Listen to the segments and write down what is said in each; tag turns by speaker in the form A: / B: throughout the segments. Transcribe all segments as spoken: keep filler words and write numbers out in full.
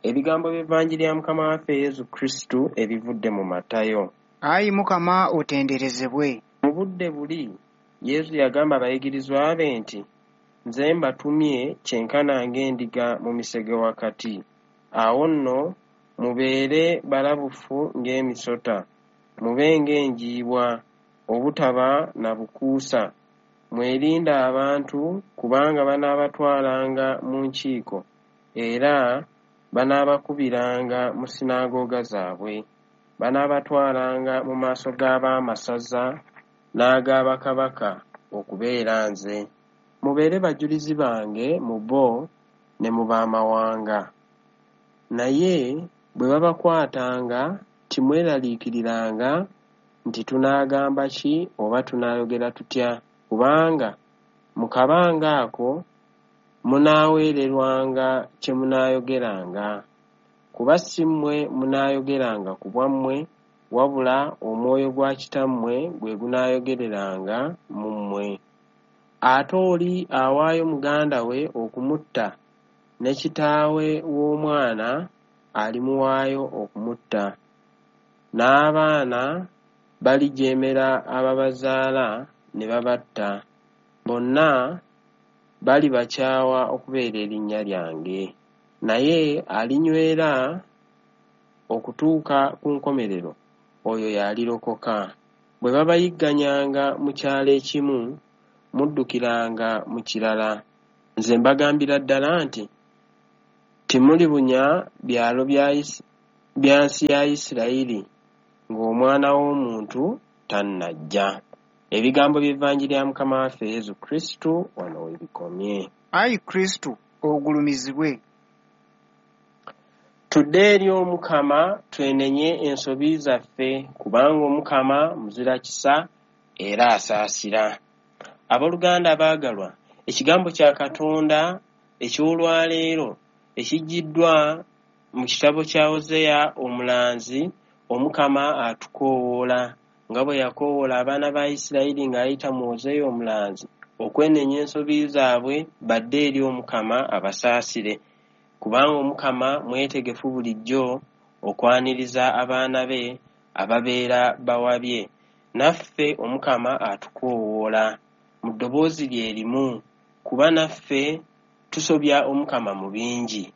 A: Ebigambo by'Evanjiri ya Mukama waffe Yesu Kristu ebivudde mu Matayo.
B: Ayi Mukama otenderezebwe.
A: Mu budde buli Yesu yagamba abayigirizwa be nti, Nze mbatumye kyenkana ng'endiga mu misege wakati. Awo nno mubeere balabufu ng'emisota, mube ng'enjiibwa, obutaba na bukuusa. Mwerinde abantu, kubanga banaabatwalanga mu nkiiko, era banaabakubiranga mu sinaagooga zaabwe. Banaabatwalanga mu maaso g'abaamasaza n'ag'abakabaka okubeera nze. Mubeere bajulizi bange mu bo ne mu b'amawanga. Naye bwe babakwatanga, timweraliikiriranga nti tunaagamba ki oba tunaayogera tutya, kubanga mu kabanga ako munaaweererwanga kye munaayogeranga. Kuba si mmwe munaayogeranga ku bwammwe, wabula omwoyo gwa Kitammwe gwe gunaayogereranga mu mmwe. Ate oli awaayo muganda we okumutta, ne kitaawe w'omwana alimuwaayo okumutta. N'abaana balijeemera ababazaala ne babatta. Bonna balibakyawa okubeera erinnya lyange. Naye alinywera okutuuka ku nkomerero, oyo y'alirokoka. Bwe babayigganyanga mu kyalo ekimu, muddukiranga mu kirala. Nze mbagambira ddala nti, timulibunya byalo bya nsi ya Isirayiri ng'Omwana w'Omuntu tannajja. Ebigambo by'Evanjiri ya Mukama waffe Yesu Kristu wano we bikomye.
B: Ayi Kristu ogulumizibwe.
A: Tudde eri Omukama twenenye ensobi zaffe, kubanga Omukama muzira kisa era asaasira. Abooluganda abaagalwa, ekigambo kya Katonda eky'olwaleero ekiggiddwa mu kitabo kya Hozeya omulanzi, Omukama atukoowoola nga bwe yakoowoola abaana ba Isirayiri ng'ayita mu Hozeya omulanzi okwenenya ensobi zaabwe badde eri Omukama abasaasire, kubanga Omukama mwetegefu bulijjo okwaniriza abaana be ababeera bawabye. Naffe Omukama atukoowoola mu ddoboozi lye limu, kuba naffe tusobya Omukama mu bingi.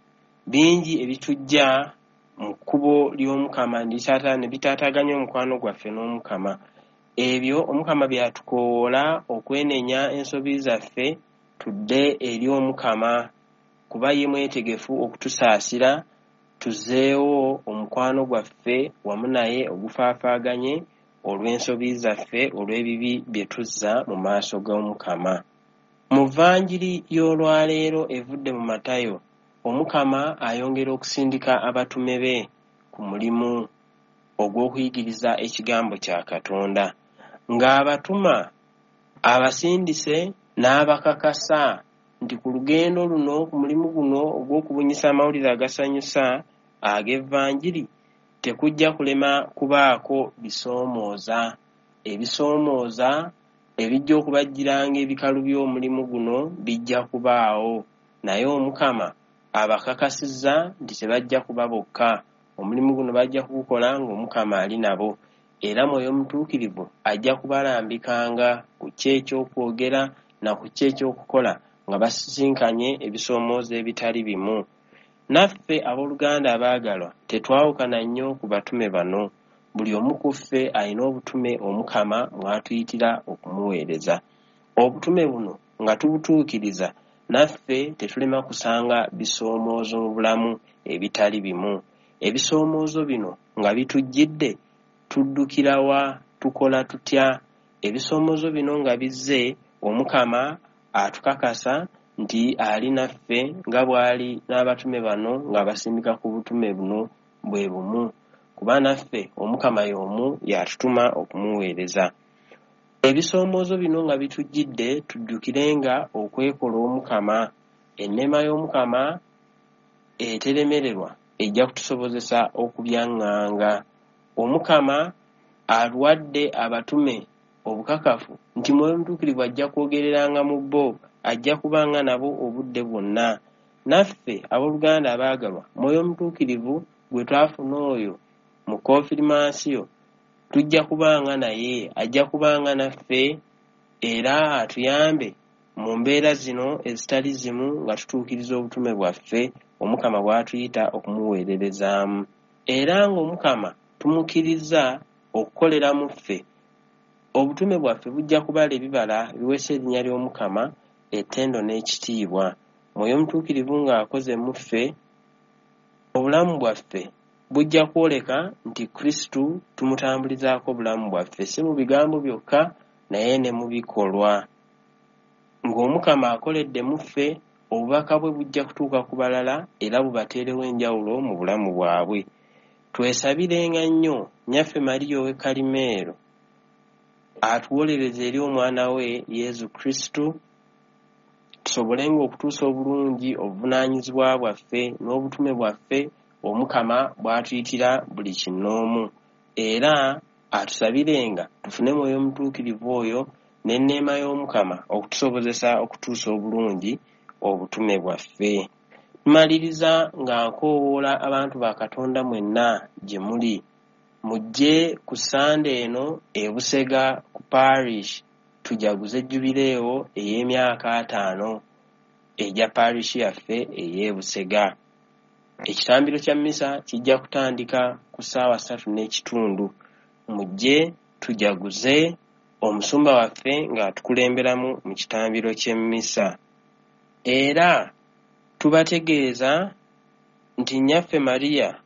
A: Bingi ebitujja mu kkubo ly'Omukama ne bitaataaganya omukwano gwaffe n'Omukama. Ebyo Omukama by'atukoowoola okwenenya ensobi zaffe tudde eri Omukama, kuba ye mwetegefu okutusaasira tuzzeewo omukwano gwaffe wamu naye ogufaafaaganye olw'ensobi zaffe, olw'ebibi bye tuzza mu maaso g'Omukama. Mu Vanjiri y'olwaleero evudde mu Matayo, Omukama ayongera okusindika abatume be ku mulimu ogw'okuyigiriza ekigambo kya Katonda. Ng'abatuma abasindise n'abakakasa nti ku lugendo luno, ku mulimu guno ogw'okubunyisa amawulire agasanyusa ag'Evanjiri, tekujja kulema kubaako bisoomooza. Ebisoomooza ebijja okubajjiranga ebikalu by'omulimu guno bijja kubaawo, naye Omukama abakakasizza nti tebajja kuba bokka. Omulimu guno bajja kugukola ng'Omukama ali nabo, era Mwoyo Mutuukirivu ajja kubalambikanga ku ki ekyokwogera na ku ki ekyokukola nga basisinkanye ebisoomooza ebitali bimu. Naffe abooluganda abaagalwa tetwawukana nnyo ku batume bano. Buli omu ku ffe alina obutume Omukama mw'atuyitira okumuweereza. Obutume buno nga tubutuukiriza, naffe tetulema kusanga bisoomoozo mu bulamu ebitali bimu. Ebisoomoozo bino nga bitujjidde, tuddukira wa? Tukola tutya? Ebisoomoozo bino nga bizze, Omukama atukakasa nti ali naffe nga bw'ali n'abatume bano ng'abasindika ku butume buno bwe bumu, kuba naffe Omukama y'omu y'atutuma okumuweereza. Ebisoomoozo bino nga bitujjidde, tujjukirenga okwekola Omukama. Enneema y'Omukama eteremererwa ejja kutusobozesa okubyaŋŋanga. Omukama alwadde abatume obukakafu nti Mwoyo Mutuukirivu ajja kwogereranga mu bo, ajja kubanga nabo obudde bwonna. Naffe abooluganda abaagalwa, Mwoyo Omutuukirivu gwe twafuna oyo mu konfirmansiyo tujja kubanga naye, ajja kubanga naffe era atuyambe mu mbeera zino ezitali zimu nga tutuukiriza obutume bwaffe Omukama bw'atuyita okumuweererezaamu. Era ng'Omukama tumukkiriza okukolera mu ffe, obutume bwaffe bujja kubala ebibala ebiweesa erinnya ly'Omukama ettendo n'ekitiibwa. Mwoyo Omutuukirivu ng'akoze mu ffe, obulamu bwaffe bujja kwoleka nti Kristu tumutambulizaako obulamu bwaffe, si mu bigambo byokka naye ne mu bikolwa. Ng'Omukama akoledde mu ffe, obubaka bwe bujja kutuuka ku balala era bubateerewo enjawulo mu bulamu bwabwe. Twesabirenga nnyo Nnyaffe Mariya ow'e Kalimeero atuwolereze eri omwana we Yesu Kristu, tusobolenga okutuusa obulungi obuvunaanyizibwa bwaffe n'obutume bwaffe Omukama bw'atuyitira buli kinnoomu. Era atusabirenga tufune Mwoyo Omutuukirivu oyo n'enneema y'Omukama okutusobozesa okutuusa obulungi obutume bwaffe. Tumaliriza nga nkoowoola abantu ba Katonda mwenna gye muli, mujje ku Ssande eno e Busega ku parish tujaguze jubileewo ey'emyaka ataano egya parish yaffe ey'e Busega. Ekitambiro kya mmisa kijja kutandika ku ssaawa ssatu n'ekitundu. Mujje tujaguze omusumba waffe ng'atukulemberamu mu kitambiro ky'emmisa. Era tubategeeza nti Nnyaffe Mariya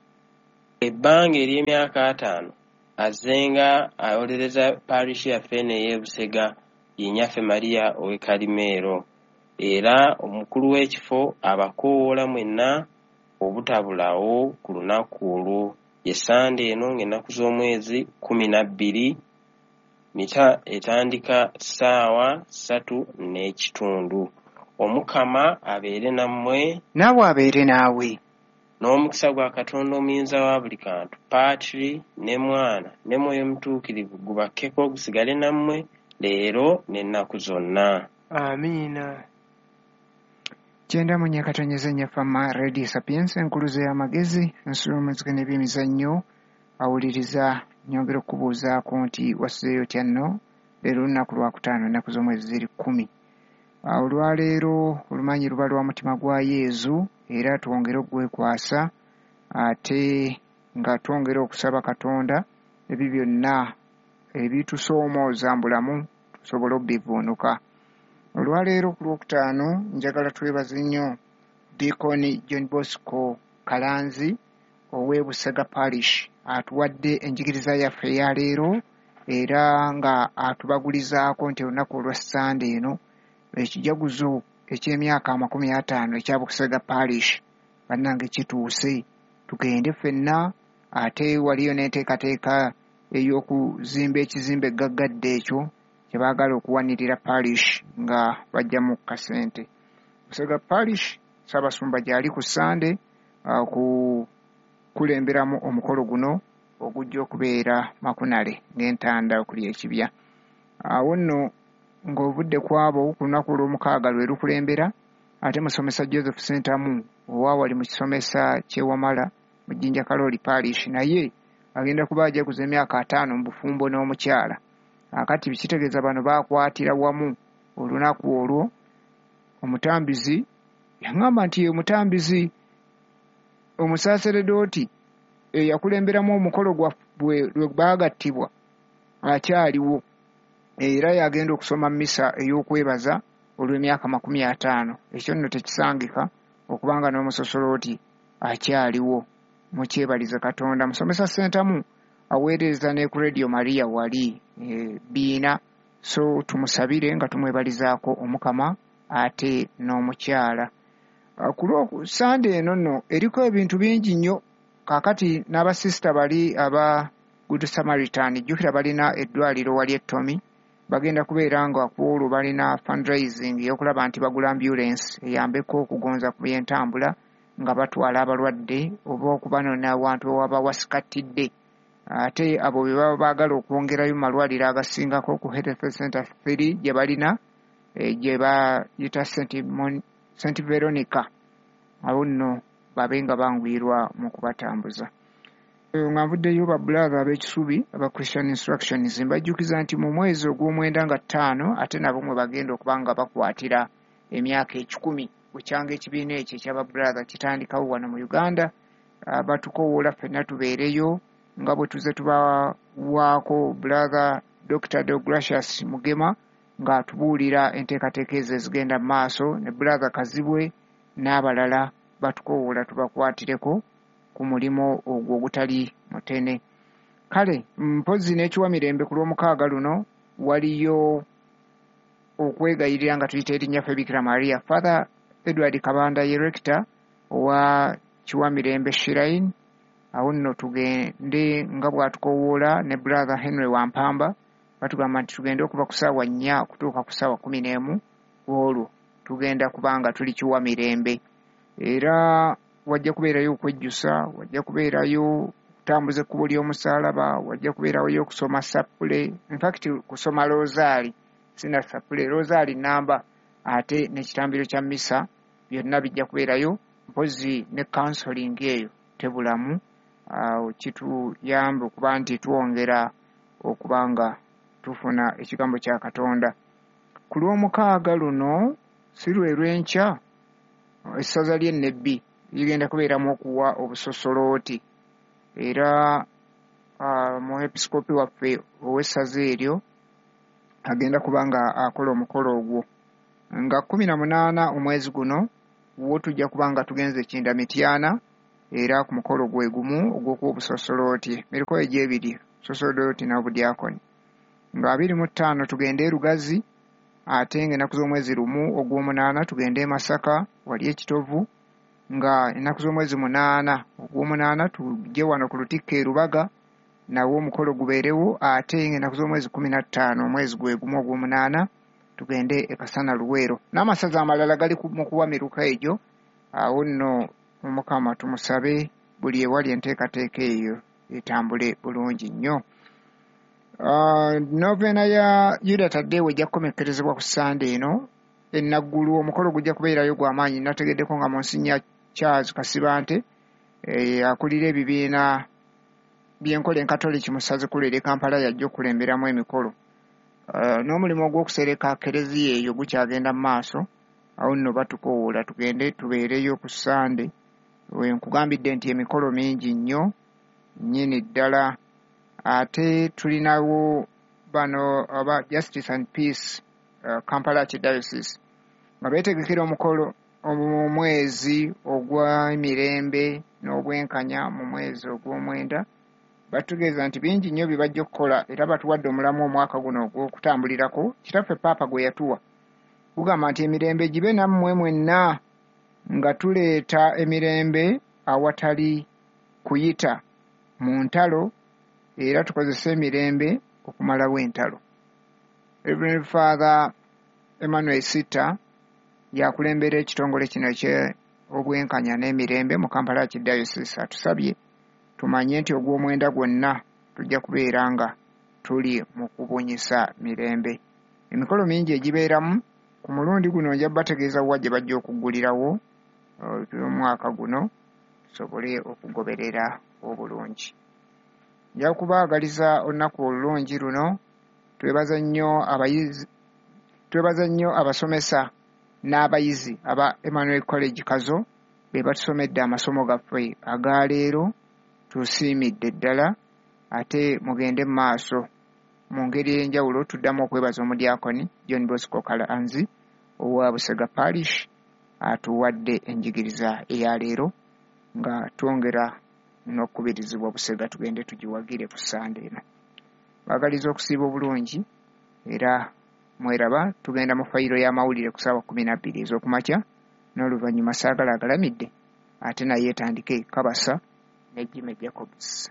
A: ebbanga ery'emyaka ataano azzenga awolereza parish yaffe eno ey'e Busega, ye Nnyaffe Mariya ow'e Kalimeero. Era omukulu w'ekifo abakoowoola mwenna obutabulawo ku lunaku olwo. Ye Ssande eno ng'ennaku z'omwezi kkumi na bbiri, mita etandika ssaawa ssatu n'ekitundu. Omukama abeere nammwe.
B: Naawe abeere naawe.
A: N'omukisa gwa Katonda omuyinza wa buli kantu, Patri ne Mwana ne Mwoyo Mutuukirivu gubakkeko gusigale nammwe leero n'ennaku zonna.
C: Amiina.
B: Kyenda mu nnya katonyeza nnya Fama Radio Sapienza, enkuluze y'amagezi, ensulo y'omuziki n'ebyemizannyo. Awuliriza nyongera okukubuuzaako nti wasuzeeyo otya nno? Leero lunaku lwakutaano, ennaku z'omwezi ziri kkumi. Olwaleero olumanyi luba lwa mutima gwa Yezu, era twongere okugwekwasa ate nga twongera okusaba Katonda ebyo byonna ebitusoomooza mu bulamu tusobole obbivuunuka. Olwaleero ku Lwokutaano njagala twebaze nnyo Deacon John Bosco Kalanzi ow'e Busega Parish atuwadde enjigiriza yaffe eya leero, era nga atubagulizaako nti olunaku olwa Ssande eno ekijaguzo eky'emyaka amakumi ataano ekya Busega Parish bannange kituuse, tugende ffenna. Ate waliyo n'enteekateeka ey'okuzimba ekizimbe gaggadde ekyo kye baagala okuwanirira parish nga bajjamu kasente. Busega Parish Ssaabasumba gy'ali ku Ssande okukulemberamu omukolo guno ogujja okubeera Makunale ng'entanda okuli ekibya. Awo nno ng'ovudde ku abo ku lunaku olw'omukaaga lwe lukulembera, ate musomesa Joseph Ssentamu owaawali mu kisomesa ky'e Wamala mu Jjinja Kalooli Parish naye agenda kuba ajaguza emyaka ataano mu bufumbo n'omukyala. Akati kitegeeza bano baakwatira wamu olunaku olwo. Omutambizi yaŋŋamba nti ye mutambizi omusaaseredooti eyakulemberamu omukolo gwabwe lwe baagattibwa akyaliwo, era yagenda okusoma mmisa ey'okwebaza olw'emyaka makumi ataano. Ekyo nno tekisangika okubanga n'omusosolooti akyaliwo. Mukyebalize Katonda. Musomesa Ssentamu aweereza ne ku Radio Maria wali e, Biina, so tumusabire nga tumwebalizaako Omukama ate n'omukyala. Ku Lwosande eno nno eriko ebintu bingi nnyo. Kaakati n'abasisita bali aba Good Samaritan, jjukira balina eddwaliro wali e Tomi, bagenda kubeera nga ku olwo balina fundraising ey'okulaba nti bagula ambulance eyambeko okugonza ku by'entambula nga batwala abalwadde oba okubanona awantu ewaba wasikattidde. Ate abo be baba baagala okwongerayo mu malwaliro agasingako ku Health Center three gye balina, gye bayita Saint Veronica, Awo nno babe nga banguyirwa mu kubatambuza. Nga nvuddeyo ba brother ab'Ekisubi aba Christian Instructions, mbajjukiza nti mu mwezi ogw'omwenda nga ttaano ate nabo mwe bagenda okuba nga bakwatira emyaka ekikumi bukyanga ekibiina ekyo eky'aba brother kitandikawo wano mu Uganda. Batukowoola ffenna tubeereyo nga bwe tuze tubawaako brother Doctor Deogracius Mugema ng'atubuulira enteekateeka ezo ezigenda mu maaso, ne brother Kazibwe n'abalala batukowoola tubakwatireko ku mulimu ogwo ogutali mutene. Kale mpozzi n'ekiwamirembe ku lw'omukaaga luno waliyo okwegayirira nga tuyita erinnya ffe Bikira Maria. Father Edward Kabanda ye rector owa Kiwamirembe Shrine. Awo nno tugende nga bw'atukowoola ne brother Henry Wampamba, batugamba nti tugende okuva ku ssaawa nnya okutuuka ku ssaawa kkumi n'emu olwo tugenda kubanga tuli Kiwamirembe. Era wajja kubeerayo okwejjusa, wajja kubeerayo okutambuza ekkubo ly'omusaalaba, wajja kubeerayo okusoma sappule, infact kusoma loozaali, sina sappule, loozaali nnamba, ate n'ekitambiro kya mmisa, byonna bijja kubeerayo, mpozzi ne counseling eyo tebulamu. Awo kituyambe okuba nti twongera okuba nga tufuna ekigambo kya Katonda. Ku lw'omukaaga luno si lwe lw'enkya, essaza ly'e Nebbi ligenda kubeeramu okuwa obusosolooti, era muepiskopi waffe ow'essaza eryo agenda kuba nga akola omukolo ogwo. Nga kkumi na munaana omwezi guno wo tujja kuba nga tugenze Kinda Mityana, era ku mukolo gwe gumu ogw'okuwa obusosolooti, miriko egy'ebiri, sosolooti n'obudyakoni. Nga abiri mu ttaano tugende e Lugazi, ate ng'ennaku z'omwezi lumu ogw'omunaana tugende e Masaka wali e Kitovu, nga ennaku z'omwezi munaana ogw'omunaana tujje wano ku Lutikko e Lubaga, nawo omukolo gubeerewo, ate ng'ennaku z'omwezi kkumi na ttaano omwezi gwe gumu ogw'omunaana tugende e Kasana Luweero. N'amasaza amalala gali mu kuwa miruka egyo. Awo nno Omukama tumusabe buli ewali enteekateeka eyo etambule bulungi nnyo. Novena ya Yuda Taddewo ejja kukomekkerezebwa ku Ssande eno e Naggulu. Omukolo gujja kubeerayo gwa maanyi. Nategeddeko nga Monsignor Charles Kasibante akulira ebibiina by'enkola enkatoliki mu ssaza ekkulu ery'e Kampala yajja okulemberamu emikolo. N'omulimu ogw'okusereka kereziya eyo gukyagenda mu maaso. Awo nno batukowoola tugende tubeereyo ku Ssande. Nkugambidde nti emikolo mingi nnyo nnyini ddala. Ate tulinawo bano aba Justice and Peace uh, Kampala Archdiocese nga beetegekera omukolo omwezi ogw'emirembe n'obwenkanya mu mwezi ogw'omwenda. Batutegeeza nti bingi nnyo bye bajja okukola, era batuwadde omulamu omwaka guno ogw'okutambulirako. Kitaffe Paapa gwe yatuwa gugamba nti emirembe gibe nammwe mwenna, nga tuleeta emirembe awatali kuyita mu ntalo, era tukozese emirembe okumalawo entalo. Reverend Father Emmanuel Sita yakulembera ekitongole kino eky'obwenkanya n'emirembe mu Kampala Archdiocese. Atusabye tumanye nti ogw'omwenda gwonna tujja kubeera nga tuli mu kubunyisa mirembe. Emikolo mingi egibeeramu ku mulundi guno nja bategeeza wa gye bajja okuggulirawo omwaka guno tusobole okugoberera obulungi. Nja kubaagaliza olunaku olulungi luno. Twebaza nnyo abayizi, twebaza nnyo abasomesa n'abayizi aba Emmanuel College Kazo be batusomedde amasomo gaffe aga leero. Tusiimidde ddala, ate mugende mu maaso mu ngeri ey'enjawulo. Tuddamu okwebaza omudyakoni John Bosco Kalanzi owa Busega Parish atuwadde enjigiriza eya leero, nga twongera n'okukubirizibwa Busega tugende tugiwagire ku Ssande eno. Baagaliza okusiiba obulungi, era mweraba tugenda mu fayiro y'amawulire ku ssaawa kkumi na bbiri ez'okumakya, n'oluvannyuma saagala agalamidde ate naye etandike Kabasa ne Jimmy Jacobs.